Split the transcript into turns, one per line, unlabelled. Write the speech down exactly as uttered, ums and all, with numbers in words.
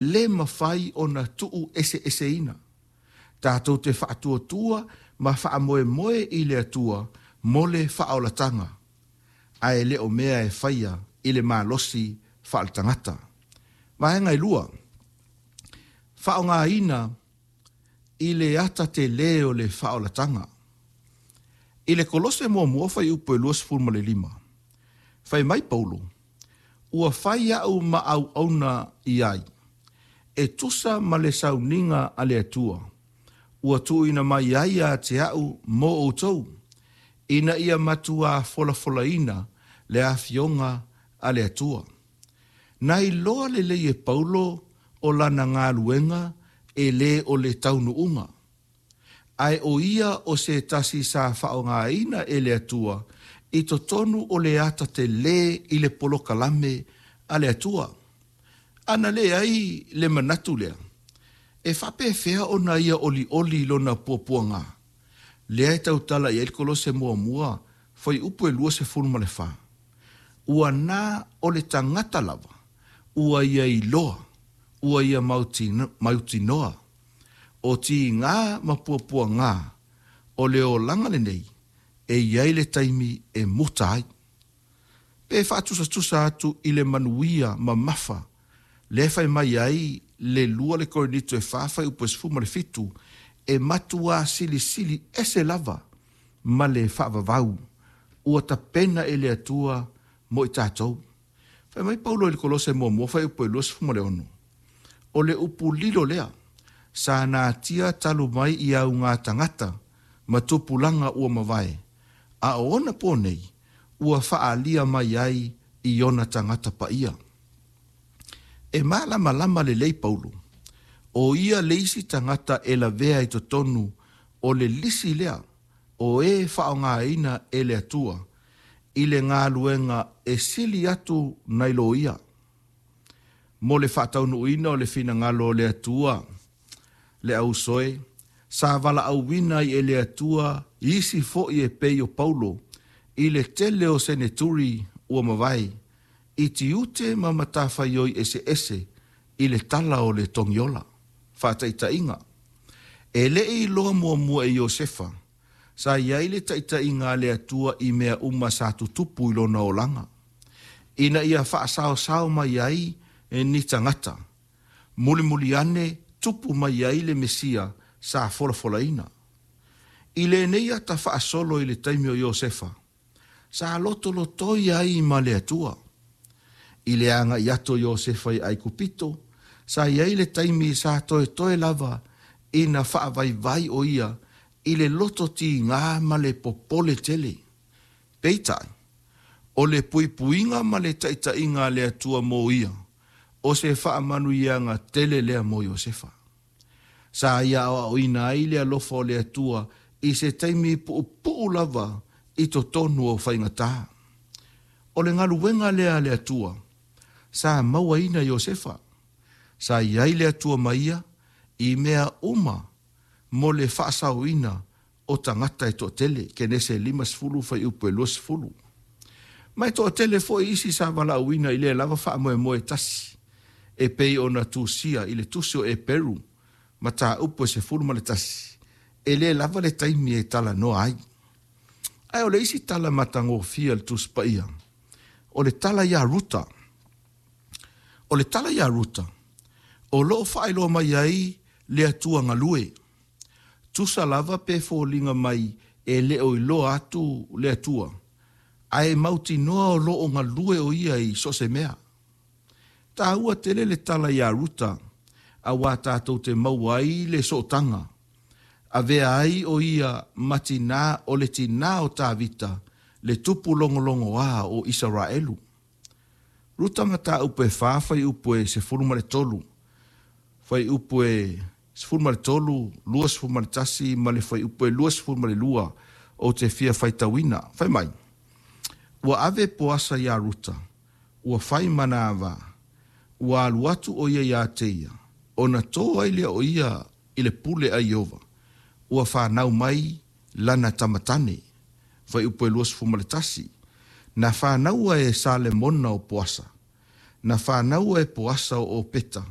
Lē mafai ona tuueseeseina. Tatou te faatuatua ma faamoemoe i le Atua mo le faaolataga, ae le o mea e faia i le malosi faaletagata. Vaega e lua, faaaogaina i le ata telē o le faaolataga. I le Kolose muamua fuaiupu e luasefulu ma le lima, fai mai Paulo, ua fai a'u ma auauna i ai, e tusa ma le sauniga a le Atua, ua tuuina mai ai ia te a'u mo outou, ina ia matuā folafolaina le afioga a le Atua. Na iloa lelei e Paulo o lana galuega e lē o le taunuuga, ae o ia o se tasi sa faaaogaina e le Atua i totonu o le ata telē i le polokalame a le Atua. Ana leai le manatu lea, e faapefea ona ia olioli i lona puapuaga? Lea e tautala i ai le Kolose muamua, fuaiupu e luasefulu ma le fa. Ua na o le tagata lava, ua ia iloa, ua ia mautinoa, o tigā ma puapuagā o le olaga lenei e i ai le taimi e muta ai. Pe faatusatusa atu i le manuia mamafa, lea e fai mai ai le lua le Korinito e fa fuaiupu e sefulu ma le fitu, e matuā silisili ese lava ma le faavavau ua tapena e le Atua mo i tatou. Fai mai Paulo i le Kolose muamua fuaiupu e luasefulu ma le ono, o le upu lilo lea, sa natia talu mai i augā tagata ma tupulaga ua mavae, a o ona pō nei, ua faaalia mai ai i ona tagata paia. E malamalama lelei Paulo, o ia le isi tagata e lavea i totonu o le lisi lea o e faaaogaina e le Atua i le galuega e sili atu nai lo ia. Mo le faataunuuina o le finagalo o le Atua, le ausoe, sa valaauina ai e le Atua isi foi e pei o Paulo i le tele o seneturi ua mavae, i tiute ma matafaioi eseese i le tala o le togiola. Faataitaiga, e le i iloa muamua e Iosefa, sa i ai le taitaiga a le Atua i mea uma sa tutupu i lona olaga, ina ia faasaosao mai ai ni tagata, mulimuli ane tupu mai ai le Mesia sa folafolaina. I lenei ata faasolo i le taimi o Iosefa, sa lotolotoi ai ma le Atua. I le agai atu o Iosefa i Aikupito, sa i ai le taimi sa toetoe lava ina faavaivai o ia i le loto tigā ma le popole tele. Peitai, o le puipuiga ma le taitaiga a le Atua mo ia, o se faamanuiaga tele lea mo Iosefa. Sa ia aoaoina ai le alofa o le Atua i se taimi puupuu lava i totonu o faigatā. O le galuega lea a le Atua, sa mauaina Iosefa. Sa i ai le Atua ma ia i mea uma mo le faasaoina o tagata e toatele, Kenese limasefulu fuaiupu e luasefulu. Ma e toatele foi isi sa valaauina i lea lava faamoemoe tasi, e pei ona tusia i le tusi o Eperu, mataupu e sefulu ma le tasi, e lē lava le taimi e talanoa ai. Ae o le isi tala matagofie a le Tusi Paia, o le tala iā Ruta. O le tala iā Ruta, o loo faailoa mai ai le Atua galue. Tusa lava pe foliga mai e le o iloa atu le Atua, ae mautinoa o loo galue o ia i so o se mea. Taua tele le tala iā Ruta, auā tatou te maua ai le sootaga. Avea ai o ia ma tinā o le tinā o Tavita, le tupu logologoā o Isaraelu. Ruta mataupu e fa fuaiupu e sefulu ma le tolu, fuaiupu e sefulu ma le tolu, luasefulu ma le tasi ma le fuaiupu e luasefulu ma le lua ou te fia faitauina. Fai mai, ua ave Poasa iā Ruta, ua fai ma na ava, ua alu atu o ia iā te ia, ona tō ai lea o ia i le pule a Ieova, ua fanau mai lana tama tane. Fuaiupu e luasefulu ma le tasi, na fanaua e Salemona o Poasa, na fanaua e Poasa o Opeta,